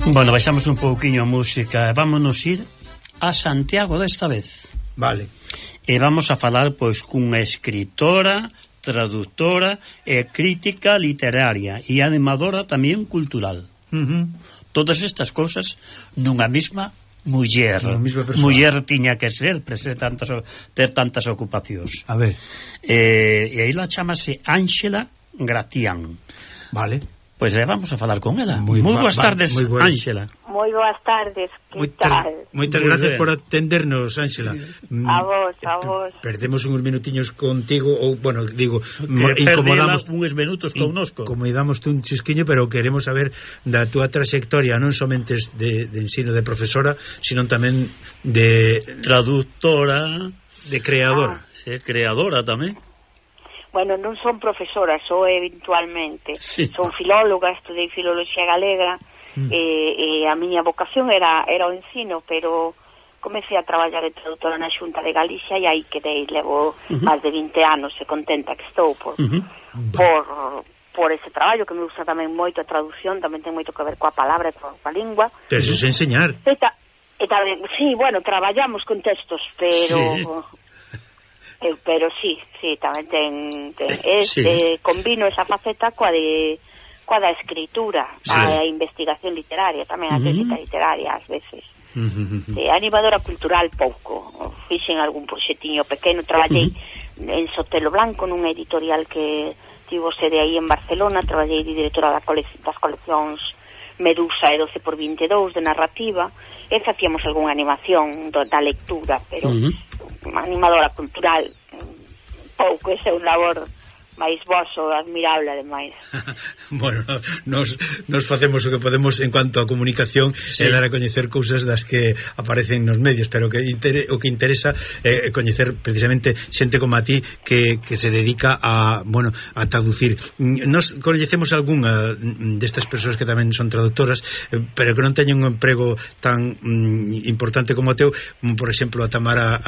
Bueno, baixamos un pouquiño a música. Vámonos ir a Santiago desta vez. Vale. E vamos a falar, pois, cunha escritora, traductora e crítica literaria e animadora tamén cultural. Todas estas cousas nunha mesma muller. Muller tiña que ser, ter tantas ocupacións. A ver. E aí la chamase Ángela Gracián. Vale. Pois vamos a falar con ela. Moi boas tardes, Ángela. Moi boas tardes, que tal? Moitas gracias por atendernos, Ángela. A vos. Perdemos uns minutiños contigo, ou, bueno, digo, incomodamos uns minutos connosco. Incomodamos un chisquiño, pero queremos saber da túa trayectoria, non somente de ensino de profesora, sino tamén de traductora, de creadora. Sí, creadora tamén. Bueno, non son profesora, sou eventualmente. Sí. Son filóloga, estudei filoloxía galega, e a miña vocación era o ensino, pero comecei a traballar de traductora na Xunta de Galicia e aí quedei, levo máis de 20 anos e contenta que estou por ese traballo, que me gusta tamén moito a traducción, tamén ten moito que ver coa palabra e coa lingua. Pero eso é enseñar. E tamén, sí, bueno, traballamos con textos, pero... Sí. Pero sí, tamén combino esa faceta coa da escritura, a investigación literaria, tamén a crítica literaria ás veces. Animadora cultural pouco, fixen algún proxectiño pequeno, traballei en Sotelo Blanco nunha editorial que tivo sede aí en Barcelona, traballei de directora das coleccións Medusa e 12x22 de narrativa, e facíamos algunha animación da lectura, pero animadora cultural pouco, ese é un labor máis voso, admirable ademais. Bueno, nos facemos o que podemos en cuanto a comunicación e dar a coñecer cousas das que aparecen nos medios, pero o que interesa é coñecer precisamente xente como a ti que se dedica a traducir. Nos coñecemos algunha destas persoas que tamén son traductoras, pero que non teñen un emprego tan importante como o teu, como por exemplo a Tamara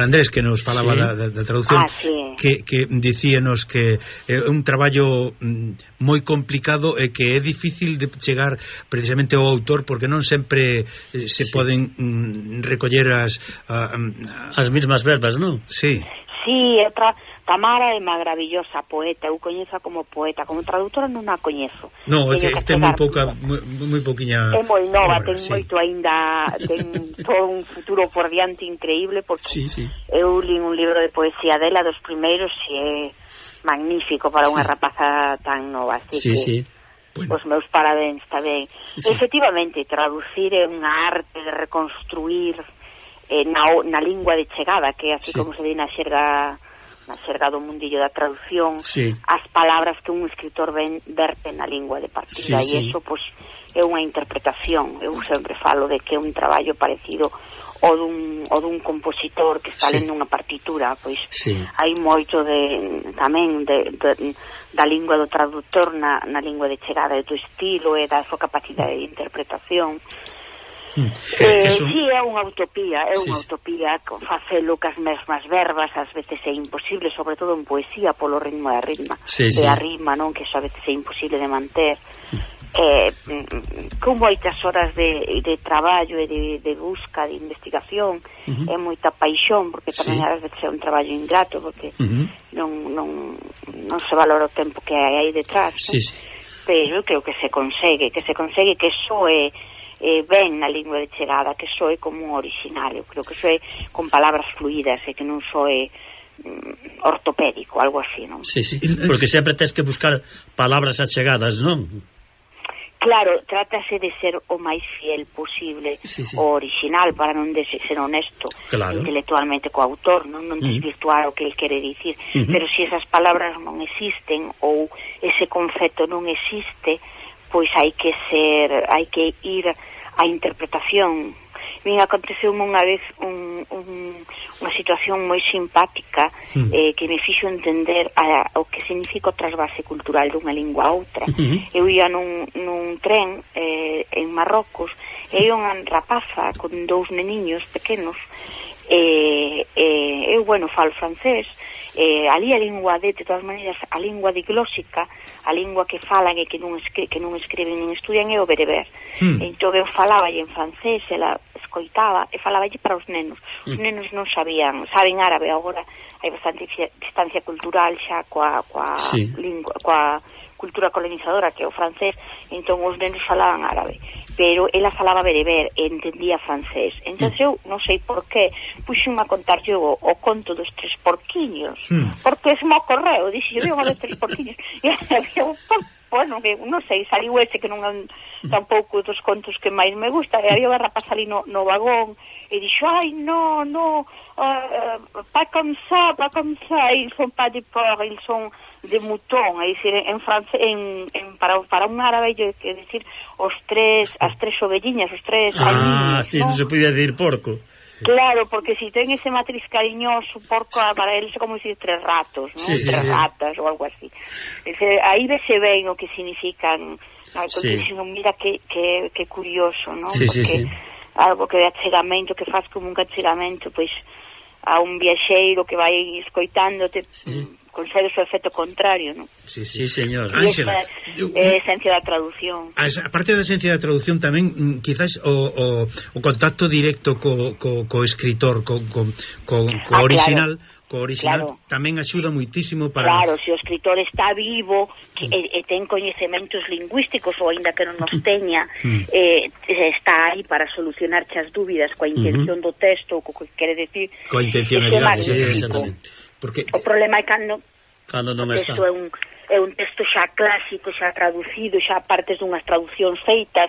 Andrés, que nos falaba da traducción, que dicíanos que é un traballo moi complicado e que é difícil de chegar precisamente ao autor, porque non sempre se poden recoller as mesmas verbas, non? Sí. Sí, Tamara é maravillosa poeta, eu coñezo como poeta, como traductora non a coñezo. Non, é que ten moi pouquiña. É moi nova, ten moito aínda, ten todo un futuro por diante increíble, porque eu li un libro de poesía dela, dos primeiros, e é magnífico para unha rapaza tan nova, así que os meus parabéns tamén. Efectivamente, traducir é unha arte de reconstruir na lingua de chegada, que así como se di na xerga do mundillo da traducción, as palabras que un escritor verte na lingua de partida, e iso é unha interpretación. Eu sempre falo de que é un traballo parecido o dun compositor que está lendo unha partitura, pois hai moito tamén da lingua do traductor na lingua de chegada, do estilo e da súa capacidade de interpretación. Sí, é unha utopía, facelo cas mesmas verbas, ás veces é imposible, sobre todo en poesía, polo ritmo da rima, non, que a veces é imposible de manter. Con moitas horas de traballo e de busca, de investigación, é moita paixón, porque tamén ás veces é un traballo ingrato, porque non se valora o tempo que hai aí detrás, pero creo que se consegue que soe ben na lingua de chegada, que soe como un original. Eu creo que soe con palabras fluídas e que non soe ortopédico, algo así, non? Porque sempre tens que buscar palabras achegadas, non? Claro, trátase de ser o máis fiel posible o original, para non ser honesto intelectualmente co autor, non desvirtuar o que ele quere dicir, pero se esas palabras non existen ou ese concepto non existe, pois hai que ir á interpretación. Aconteceu unha vez unha situación moi simpática que me fixo entender o que significa o trasvase cultural dunha lingua a outra. Eu ia nun tren en Marrocos E unha rapaza con 2 neniños pequenos, eu, bueno, falo francés, ali a lingua de todas maneiras, a lingua diglósica, a lingua que falan e que non escriben nin estudian é o bereber. Entón eu falaba en francés, ela escoitaba e falaba para os nenos. Os nenos non saben árabe agora, hai bastante distancia cultural xa coa lingua, coa cultura colonizadora que é o francés, entón os nenos falaban árabe, pero ela falaba bereber e entendía francés. Entón eu non sei por qué puxenme a contar o conto dos 3 porquiños, porque se me ocorreu, dixo, eu unha dos 3 porquiños, e había bueno, non sei, saliu ese que non é tampouco dos contos que máis me gusta, e había unha rapaza ali no vagón, e dixo, ai, no, pas comme ça, ils sont pas de porc, ils sont de mouton, é dicir, en francés, para un árabe, é dicir, as 3 ovelliñas, os 3 aliños, sí, non se podía decir porco. Claro, porque si ten ese matriz cariñoso, porco, para eles é como decir 3 ratos, non? Sí, 3 ratas ou algo así. Aí vese ben o que significan, mira que curioso, non? Porque algo que de achegamento, que faz como un achegamento, pois, a un viaxeiro que vai escoitándote, consegues o efecto contrario, non? Sí, señor. Ángela, é a esencia da traducción. A parte da esencia da traducción tamén, quizás o contacto directo co escritor, co original, co original, tamén axuda moitísimo para... Claro, se o escritor está vivo e ten coñecementos lingüísticos ou aínda que non nos teña, está aí para solucionar as dúbidas coa intención do texto, co que quere decir, coa intencionalidade, exactamente. Porque o problema é cando non está. É un texto xa clásico, xa traducido, xa partes dunhas traduccións feitas,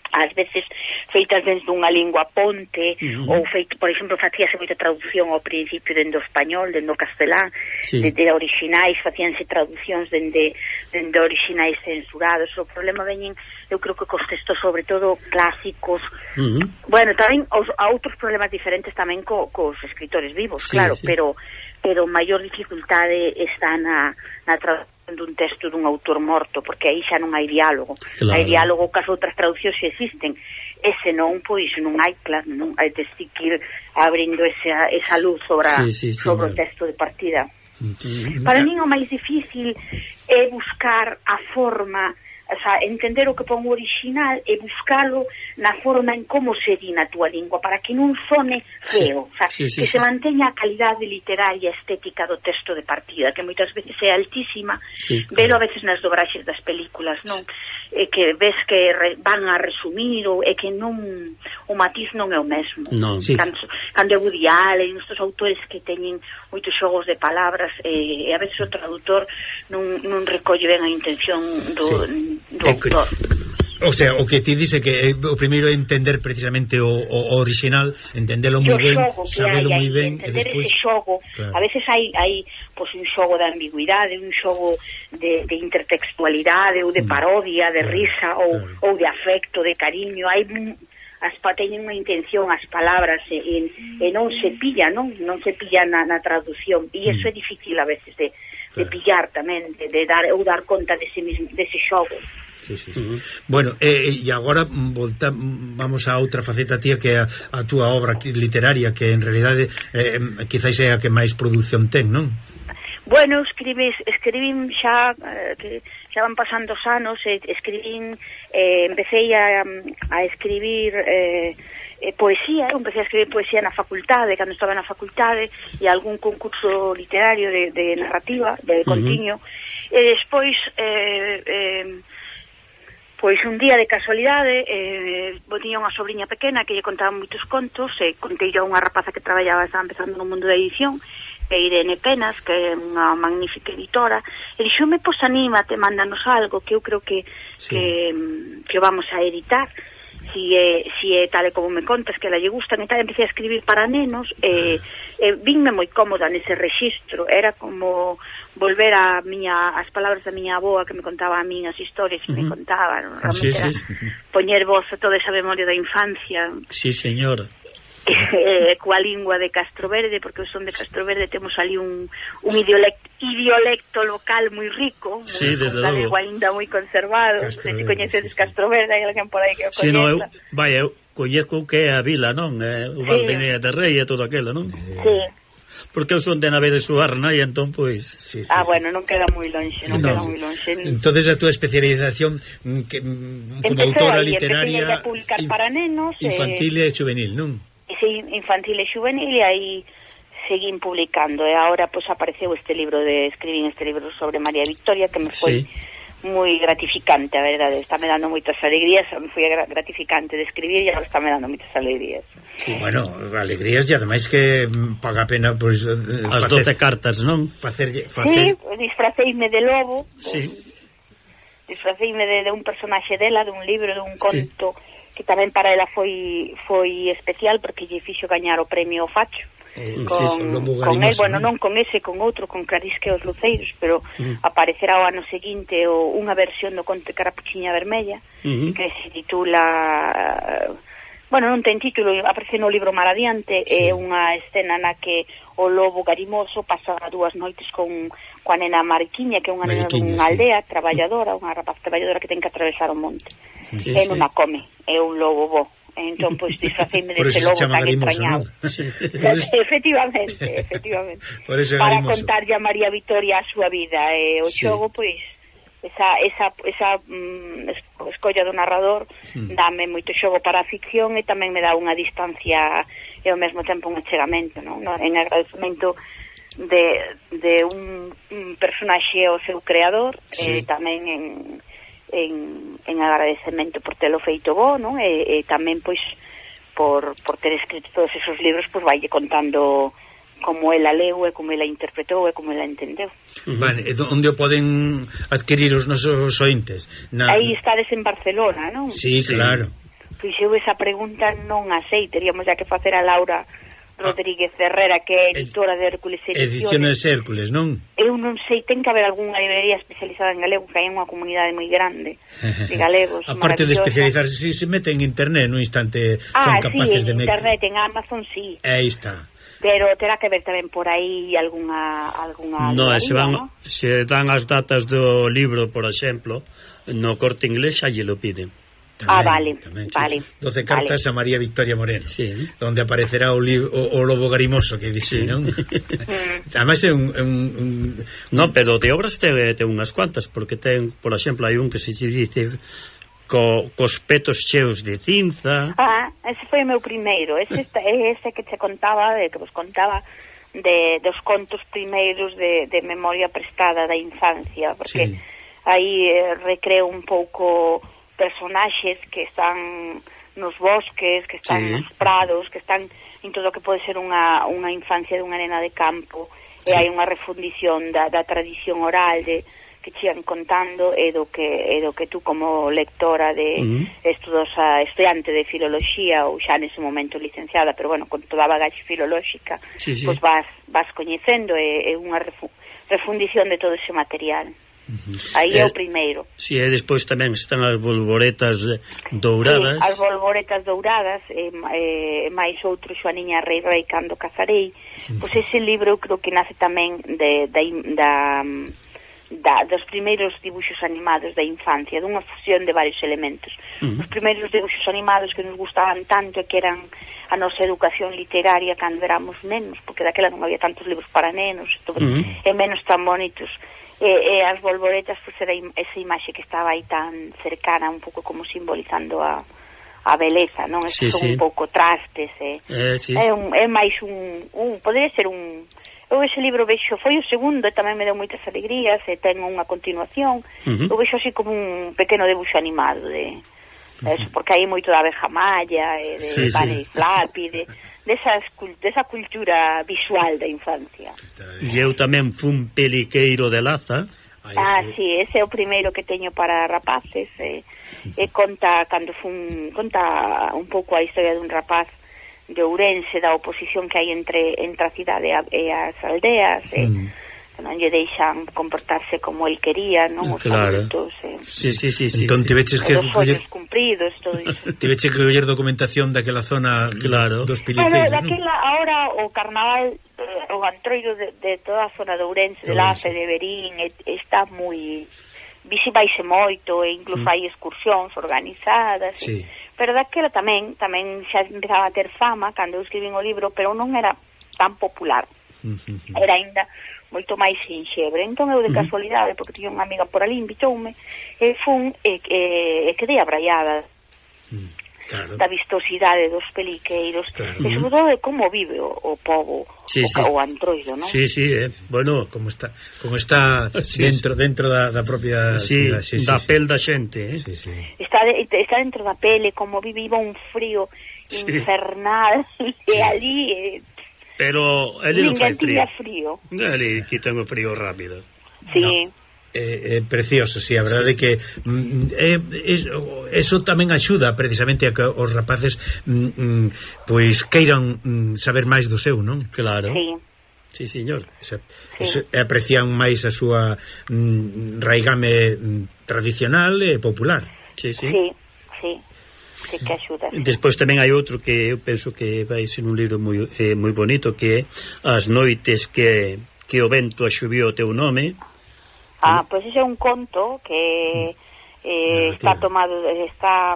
ás veces feitas dentro dunha lingua ponte, ou feito, por exemplo, facíase moita traducción ao principio dende o español, dende o castelán, dende originais, facíanse traducións dende originais censurados. O problema veñen, eu creo que cos textos sobre todo clásicos, bueno, tamén a outros problemas diferentes tamén cos escritores vivos, claro, pero maior dificultade está na traducción dun texto dun autor morto, porque aí xa non hai diálogo. Hai diálogo que as outras traduccións xa existen, e senón, pois, non hai, claro, non hai de seguir abrindo esa luz sobre o texto de partida. Para min o máis difícil é buscar a forma, o sea, entender o que pon o original e buscalo na forma en como se di na túa lingua, para que non sone feo, o sea, que se manteña a calidade literaria estética do texto de partida, que moitas veces é altísima, velo a veces nas dobraxes das películas, non? Que ves que van a resumir e que non, o matiz non é o mesmo. Cando é Woody Allen, estes autores que teñen moitos xogos de palabras, e a veces o traductor non recolle ben a intención do autor. O sea, o que ti dice que o primeiro é entender precisamente o original, entendelo moi ben, sabelo moi ben, e despois ese xogo, a veces hai pois un xogo de ambigüidade, un xogo de intertextualidade ou de parodia, de risa ou de afecto, de cariño. Hai teñen unha intención as palabras e non se pilla, non se pilla na traducción, e iso é difícil a veces de pillar tamén, de dar conta dese xogo. Bueno, e agora vamos a outra faceta, tía, que é a túa obra literaria, que en realidade quizás é a que máis produción ten, non? Bueno, escribín xa que xa van pasando os anos, empecé a escribir poesía, empecé a escribir poesía na facultade, cando estaba na facultade, e algún concurso literario de narrativa, de contiño, e despois pois un día de casualidade tiña unha sobrinha pequena que lle contaba moitos contos, e contei a unha rapaza que estaba empezando no mundo da edición, Irene Penas, que é unha magnífica editora, e dixome, pois anímate, mándanos algo, que eu creo que vamos a editar, si é tal e como me contas, que a lle gustan e tal. Empecé a escribir para nenos, vínme moi cómoda nese rexistro, era como volver as palabras da miña avoa, que me contaba a min as historias que me contaban, realmente era poñer voz a toda esa memoria da infancia. Sí, señora. coa lingua de Castroverde, porque o son de Castroverde temos ali un idiolecto local moi rico, sí, con galego ainda moi conservado. Se coñecedes Castroverde, hai alguén por aí que o coñeza. Sí, no, eu coñeco que é a vila, non? O Valdinea de Rei e todo aquilo, non? Sí. Porque eu son de Nave de Suarna e entón, pois... Sí, bueno, non queda moi lonxe, queda moi lonxe. Entonces a túa especialización como autora literaria... Empecé a publicar para nenos... Infantil e juvenil, non? Sí, infantil e juvenil, e aí seguín publicando, e agora pois apareceu escribín este libro sobre María Victoria, que me foi... moi gratificante, a verdade, está me dando moitas alegrías, me foi gratificante de escribir e agora está me dando moitas alegrías. Sí. Bueno, alegrías e ademais que paga a pena pois, as 12 cartas, non? Facer... Sí, disfraceime de lobo, sí. Disfraceime de un personaxe dela, dun libro, dun conto, que tamén para ela foi especial porque lle fixo gañar o premio Facho. Con el, bueno, non con ese, con outro, con Clarisque os Luceiros, pero aparecerá o ano seguinte unha versión do conto Carapuchiña Vermella, que se titula... Bueno, non ten título, aparece no libro Mar Adiante, é unha escena na que o lobo garimoso pasa 2 noites coa nena Mariquiña, que é unha nena dunha aldea traballadora, unha rapaz traballadora que ten que atravesar o monte. E non a come, é un lobo bo. Entón, pois, disfraceime deste lobo tan extrañado. ¿No? Sí. Efectivamente. Para contarlle a María Victoria a súa vida. O xogo, pois, esa escolla do narrador dame moito xogo para a ficción e tamén me dá unha distancia e ao mesmo tempo un achegamento, non? En agradecemento de un personaxe ao seu creador, tamén en agradecemento por telo feito bo, non? E tamén pois por ter escrito todos esos libros, pois vaille contando como ela leu e como ela interpretou e como ela entendeu. Vale, onde o poden adquirir os nosos ointes? Aí estades en Barcelona, non? Sí, claro. Pois eu esa pregunta non a sei, teríamos ya que facer a Laura Rodríguez Herrera, que é editora de Hércules Ediciones Hércules, non? Eu non sei, ten que haber algunha librería especializada en galego, que hai unha comunidade moi grande de galegos. Aparte de especializarse, si se mete en internet no instante, son capaces de meter. En internet, en Amazon, sí. Aí está. Pero terá que ver tamén por aí algunha no, se dan as datas do libro, por exemplo, no Corte Inglés xa lle lo piden. Tamén, vale. 12 cartas a María Victoria Moreno, donde aparecerá o lobo garimoso que dice, non? Además é un... No, pero de obras ten unhas cuantas, porque ten, por exemplo, hai un que se dice cos petos cheos de cinza. Ese foi o meu primeiro, ese que te contaba, que vos contaba dos contos primeiros de memoria prestada da infancia, porque aí recreo un pouco personaxes que están nos bosques, que están nos prados, que están en todo o que pode ser unha infancia dunha nena de campo, e hai unha refundición da tradición oral que chean contando e do que tú como lectora de estudiante de filoloxía ou xa nese momento licenciada, pero bueno, con toda a bagaxe filolóxica, pois vas coñecendo, é unha refundición de todo ese material. Aí é o primeiro. Si, e despois tamén están as bolboretas douradas. As bolboretas douradas, máis outro Xoaniña Rei cando casarei. Pois ese libro eu creo que nace tamén dos primeiros dibuxos animados da infancia, dunha fusión de varios elementos. Os primeiros dibuxos animados que nos gustaban tanto e que eran a nosa educación literaria cando éramos nenos, porque daquela non había tantos libros para nenos e menos tan bonitos. E as bolboretas, pois era esa imaxe que estaba aí tan cercana, un pouco como simbolizando a beleza, non? Son un pouco trastes, é máis poderia ser eu ese libro vexo, foi o segundo e tamén me deu moitas alegrías e ten unha continuación. Eu vexo así como un pequeno debuxo animado de eso, porque hai moito da abeja malla e de Bunny Flappy, desa cultura visual da infancia. E eu tamén fun peliqueiro de Laza. Sí, ese é o primeiro que teño para rapaces, e conta un pouco a historia dun rapaz de Ourense, da oposición que hai entre a cidade e as aldeas, que non lle deixan comportarse como el quería, non? Os adultos, sí. Entón tiveches que os ollos cumpridos, todo iso. Tiveches que coller documentación daquela zona dos Piliqueiros, daquela, ahora o carnaval, o antroido de toda a zona de Ourense, de Lace, de Verín, está moi... Visibaise moito, e incluso hai excursións organizadas, pero daquela tamén xa empezaba a ter fama cando eu escribín o libro, pero non era tan popular. Era ainda moito máis sinxebre. Entón eu de casualidade, porque tiña unha amiga por ali, invitoume, e fun e quedei abraiada da vistosidade dos peliqueiros, e sobre todo de como vive o povo, o antroido, non? Bueno, como está dentro da propia da pel da xente, Está dentro da pele, como vive un frío infernal, e ali... Pero ele non fai frío. Ele quita o frío rápido. Sí. Precioso, a verdade é que eso tamén axuda precisamente a que os rapaces pois queiran saber máis do seu, non? Claro. Sí, señor. Aprecian máis a súa raigame tradicional e popular. Sí, que axuda. Despois tamén hai outro que eu penso que vai ser un libro moi bonito, que é As noites que o vento axubiou o teu nome. Pois ese é un conto que está tomado, a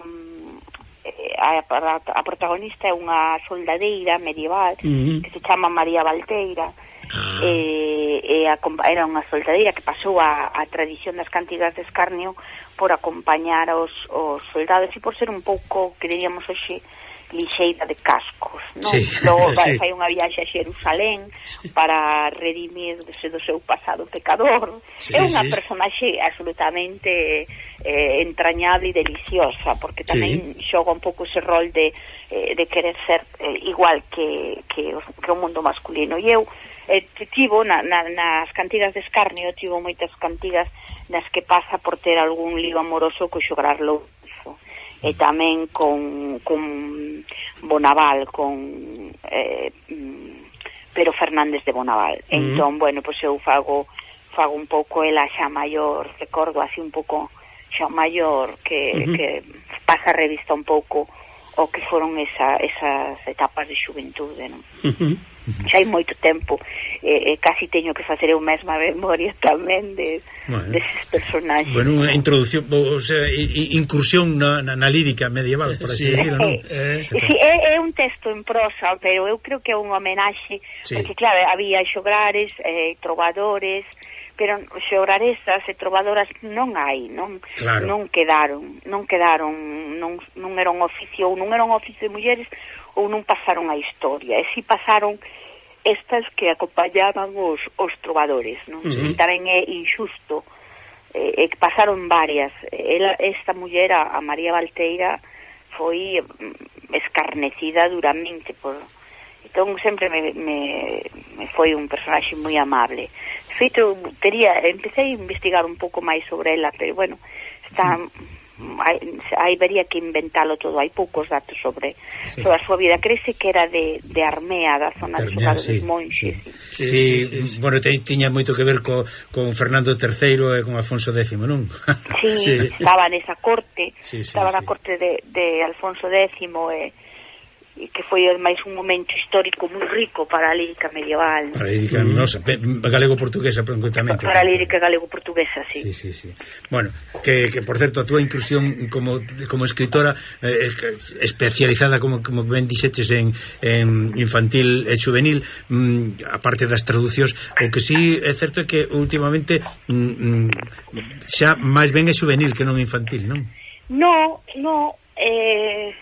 protagonista é unha soldadeira medieval que se chama María Valteira, era unha soldadeira que pasou a tradición das cantigas de escarnio por acompañar os soldados e por ser un pouco, que diríamos hoxe, lixeira de cascos, non? Logo fai unha viaxe a Xerusalén para redimirse do seu pasado pecador. É unha personaxe absolutamente entrañable e deliciosa, porque tamén xoga un pouco ese rol de querer ser igual que o mundo masculino. E eu tivo nas cantigas de escarnio, tivo moitas cantigas nas que pasa por ter algún lío amoroso co xograr Lourenço, e tamén con Bonaval, con Pero Fernández de Bonaval. Entón, bueno, pois eu fago un pouco ela xa maior, recordo así un pouco xa maior, que pasa a revista un pouco o que foron esas etapas de xuventude, non? Xa hai moito tempo, casi teño que facer eu mesma memoria tamén deses personaxes. Bueno, unha introducción, o sea, incursión na lírica medieval, por así decirlo, non? Sí, é un texto en prosa, pero eu creo que é un homenaxe, porque claro, había xograres, trovadores, pero xograresas e trovadoras non hai, non quedaron, non era un oficio, ou non era un oficio de mulleres, ou non pasaron a historia, e si pasaron estas que acompañaban os trovadores, non? Tamén é injusto, que pasaron varias. Esta muller, a María Valteira, foi escarnecida duramente por... Entón sempre me foi un personaxe moi amable. De feito, empecé a investigar un pouco máis sobre ela, pero bueno, habería que inventalo todo, hai poucos datos sobre a súa vida. Crese que era de Armea, da zona de dos Monxes. Bueno, tiña moito que ver con Fernando III e con Alfonso X, non? Estaba nesa corte, estaba na corte de Alfonso X, e que foi máis un momento histórico moi rico para a lírica medieval. Para a lírica galego-portuguesa, concretamente. Para a lírica galego-portuguesa, sí. Bueno, que por certo, a túa inclusión como escritora especializada, como ben dixeches, en infantil e juvenil, aparte das traducións, o que sí é certo é que últimamente xa máis ben é juvenil que non infantil, non?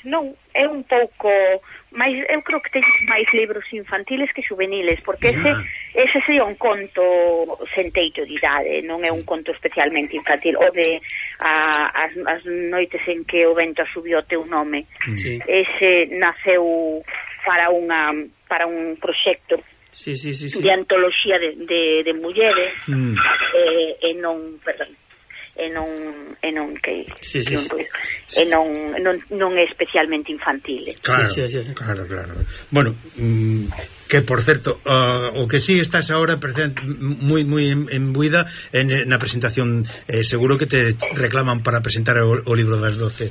Non, é un pouco máis, eu creo que teño máis libros infantiles que juveniles, porque ese sería un conto sen teito de idade, non é un conto especialmente infantil, o de as noites en que o vento asubiu o teu nome. Ese naceu para un proxecto de antoloxía de mulleres, e non, perdón, non que un ruido e non é especialmente infantil. Claro. Bueno, que por certo, o que sí estás ahora moi embuida na presentación, seguro que te reclaman para presentar o libro das 12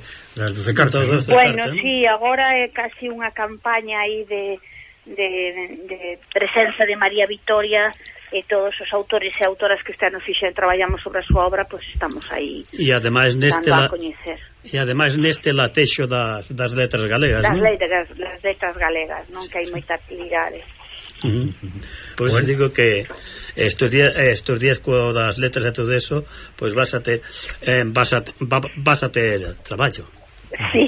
cartas. Bueno, sí, agora é casi unha campaña aí de presenza de María Vitoria, e todos os autores e autoras que están no fixen traballamos sobre a súa obra, pois estamos aí e ademais neste a coñecer. E ademais neste latexo das letras galegas, das letras galegas, non, que hai moita actividade. Pois bueno, digo que estos días co das letras e todo eso, pois vas a ter traballo. Sí.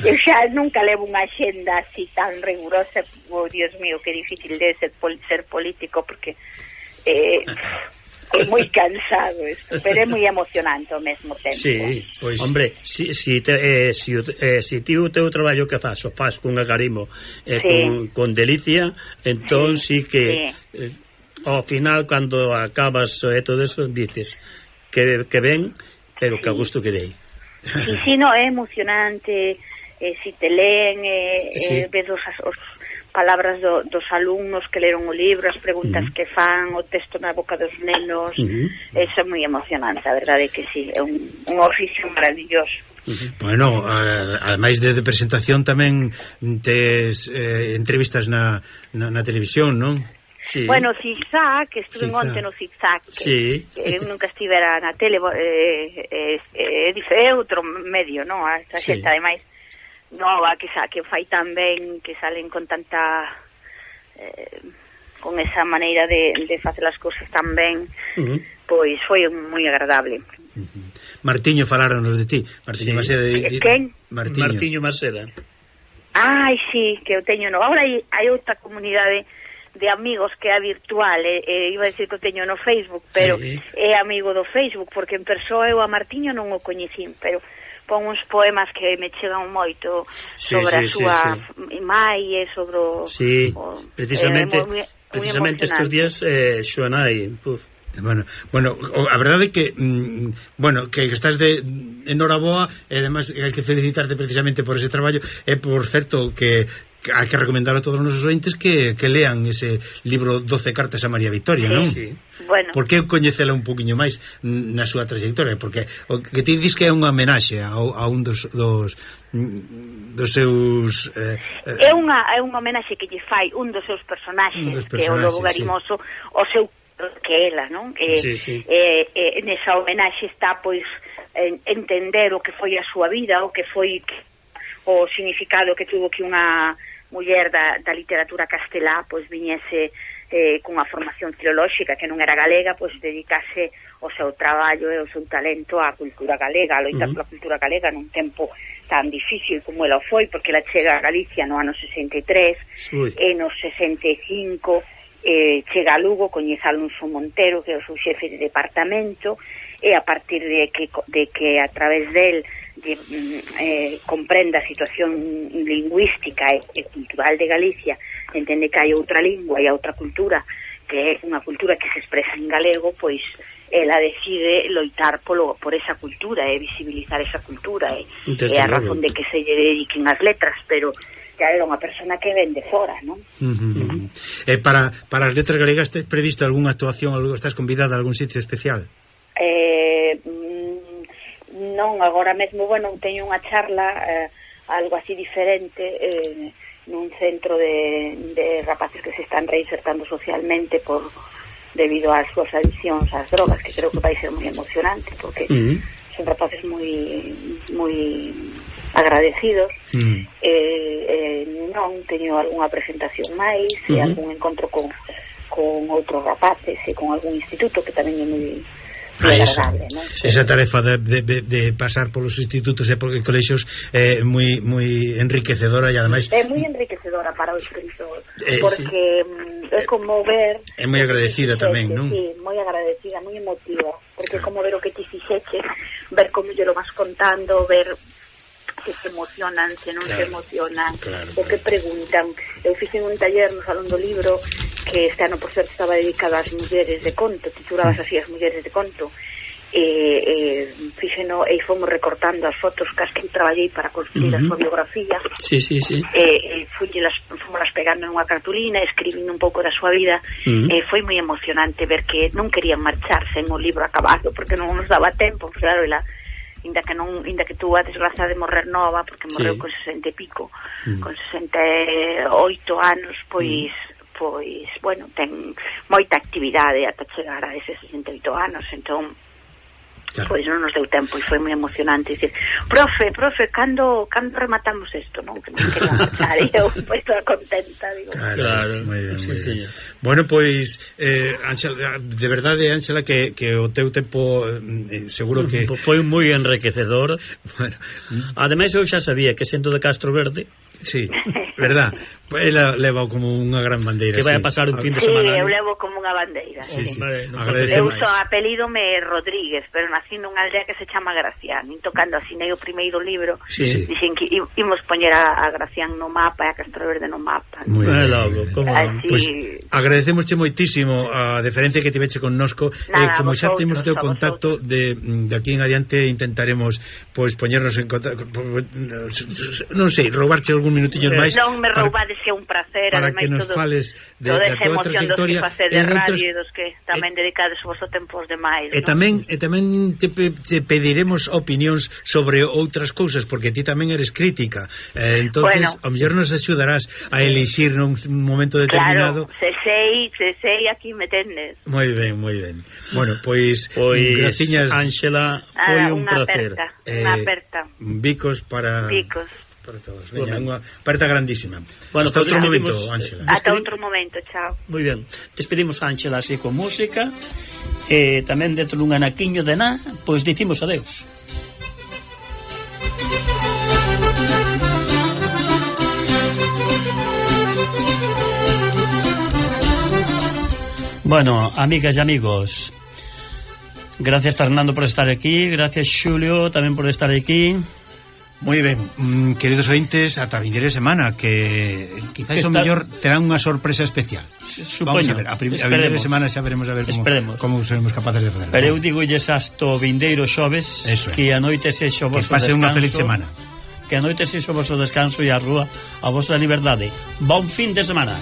Eu xa nunca levo unha xenda así tan rigurosa. Oh, Dios mío, que difícil de ser político, porque é moi cansado isto, pero é moi emocionante ao mesmo tempo. Sí, pois hombre, si ti o teu traballo que faz con agarimo con delicia, entón sí que ao final, cando acabas todo eso, dices que ben, pero que a gusto que dei. Sí, no, é emocionante. Si te leen, ves os palabras dos alumnos que leron o libro, as preguntas que fan, o texto na boca dos nenos, eso é moi emocionante, a verdade é que sí, é un oficio maravilloso. Bueno, ademais de presentación tamén tes entrevistas na televisión, non? Sí. Bueno, Zigzag, que estuve onte no Zigzag, que eu nunca estivera na tele, é outro medio, non? Esta xente, ademais, nova, que fai tan ben, que salen con tanta con esa maneira de facer as cousas tan ben, pois foi moi agradable. Martiño, faláronos de ti. Martiño Maseda. Quen? Martiño Maseda. Ai, sí, que eu teño. Agora hai outra comunidade de amigos que é virtual, iba a decir que o teño no Facebook, pero é amigo do Facebook, porque en persoa eu a Martiño non o coñecín, pero pon uns poemas que me chegan moito sobre a súa mai e sobre precisamente estes días Xoanai. Bueno, a verdade é que que estás enhoraboa, e además hai que felicitarte precisamente por ese traballo, e por certo que hai que recomendar a todos os nosos ointes que lean ese libro 12 cartas a María Vitoria, non? Sí. Bueno. Porque coñecela un poquinho máis na súa trayectoria, porque o que ti dis que é unha homenaxe a un dos seus é unha homenaxe que lle fai un dos seus personaxes, que é o Lobo Garimoso, o seu que ela, non? Nesa homenaxe está, pois, entender o que foi a súa vida, o que foi o significado que tuvo que unha muller da literatura castelá pois viñese cunha formación filolóxica que non era galega, pois dedicase o seu traballo e o seu talento á cultura galega, a loitar pola cultura galega nun tempo tan difícil como ela foi, porque ela chega a Galicia no ano 63 e no 65 chega a Lugo, coñece a Alonso Montero, que é o seu xefe de departamento, e a partir de que a través del comprenda a situación lingüística e cultural de Galicia, entende que hai outra lingua e outra cultura, que é unha cultura que se expresa en galego, pois ela decide loitar por esa cultura e visibilizar esa cultura, e a razón de que se lle dediquen as letras, pero ya era unha persona que ven de fora, non? Para as letras galegas, tes previsto algunha actuación, estás convidada a algún sitio especial? Non, agora mesmo, teño unha charla algo así diferente nun centro de rapaces que se están reinsertando socialmente debido ás súas adiccións ás drogas, que creo que vai ser moi emocionante, porque son rapaces moi agradecidos. Non teño algunha presentación máis, e algún encontro con outros rapaces e con algún instituto que tamén é moi agradable, ¿no? Esa tarefa de pasar polos institutos e por colexios é moi enriquecedora, e ademais é moi enriquecedora para o escritor, porque é como ver, é moi agradecida tamén, non? Sí, moi agradecida, moi emotiva, porque é como ver o que ti fixeche, ver como lle lo vas contando, ver se emocionan, se non se emocionan, o que preguntan. Eu fixe un taller no Salón do Libro que este ano, por certo, estaba dedicado ás mulleres de conto, titulabas así as mulleres de conto, fixeno e fomos recortando as fotos cas que traballei para construir a súa biografía. Fomos las pegando nunha cartulina, escribindo un pouco da súa vida. Foi moi emocionante ver que non querían marcharse en o libro acabado porque non nos daba tempo, claro, inda que tuvo a desgracia de morrer nova, porque morreu con 60 e pico, con 68 anos, pois bueno, ten moita actividade ata chegar a ese 68 anos, entón pois non nos deu tempo e foi moi emocionante dicir, profe, cando rematamos isto, non? Que non quería marchar e eu pois toda contenta, digo. Claro, moi ben, moi ben. Bueno, pois Ángela, de verdade, Ángela, que o teu tempo seguro que foi moi enriquecedor. Bueno, ademais eu xa sabía que sendo de Castro Verde. Sí, verdad. Ela leva como unha gran bandeira. Que vai a pasar un fin de semana. Sí, eu levo como unha bandeira. Sí. Eu só apelídome Rodríguez, pero nací nunha aldea que se chama Gracián. Tocando asinei o primeiro libro, dixen que imos poñer a Gracián no mapa e a Castro Verde no mapa. Moi ben. Pois agradecemosche moitísimo a deferencia que tiveche connosco. Como xa temos o teu contacto de aquí en adiante intentaremos pois poñernos en contacto, non sei, roubarche algún minutillos máis. Non me roubades, que é un placer para que nos fales de a tua trayectoria de radio e dos que tamén dedicades o vosso tempo aos demais. E tamén te pediremos opinións sobre outras cousas, porque ti tamén eres crítica. Entonces, ao mellor nos axudarás a elixir nun momento determinado. Claro, se sei aquí me tendes. Moi ben. Bueno, pois graciñas, Ángela, foi un placer. Unha aperta. Bicos para todos. Veña, unha aperta grandísima. Bueno, hasta outro momento, Ángela. Hasta outro momento, chao. Moi ben. Despedimos a Ángela así con música. E tamén dentro dun anaquiño de nada, pois dicimos adeus. Bueno, amigas e amigos, gracias Fernando por estar aquí, gracias Xulio tamén por estar aquí. Moi ben, queridos ointes, ata a vindeira semana, que quizás o mellor terán unha sorpresa especial. Supoño. Vamos a ver, a vindeira semana xa veremos a ver como seremos capaces de fazer. Pero eu digolles hasta o vindeiro xoves, que a noite sexo o vosso descanso. Que pase unha feliz semana. Que a noite sexo o vosso descanso e a rúa a vosa liberdade. Bon fin de semana.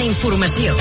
Informació.